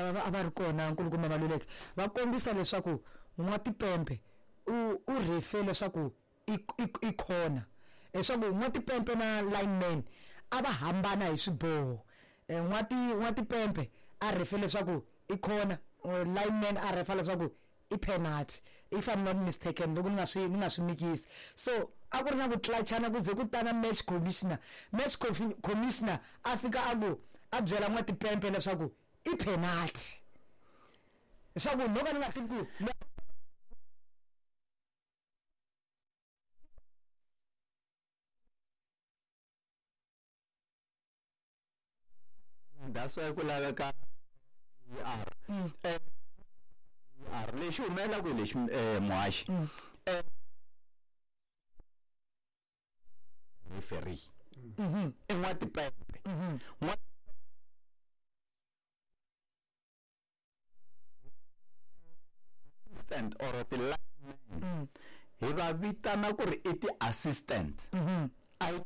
lava a va ri kona, nkulukumba Maluleke, va kombisa leswaku N'watipempe u refe leswaku i corner, leswaku N'watipempe na lineman a va hambana hi swiboho. N'watipempe a refe leswaku i corner, lineman a refa leswaku i penalty, if I'm not mistaken, loko ni nga swi ni nga swi mikisi. So a ku ri na ku clutchana ku ze ku tana match commissioner. Match commissioner a fika a ku a byela N'watipempe leswaku i penalty, leswaku no ka ni nga tivi ku That's why ku laveka VAR. VAR lexi humelelaka hi lexi, muhaxi, referee i N'watipempe. Assistant or ti-lineman hi va vitana ku ri i ti-assistant.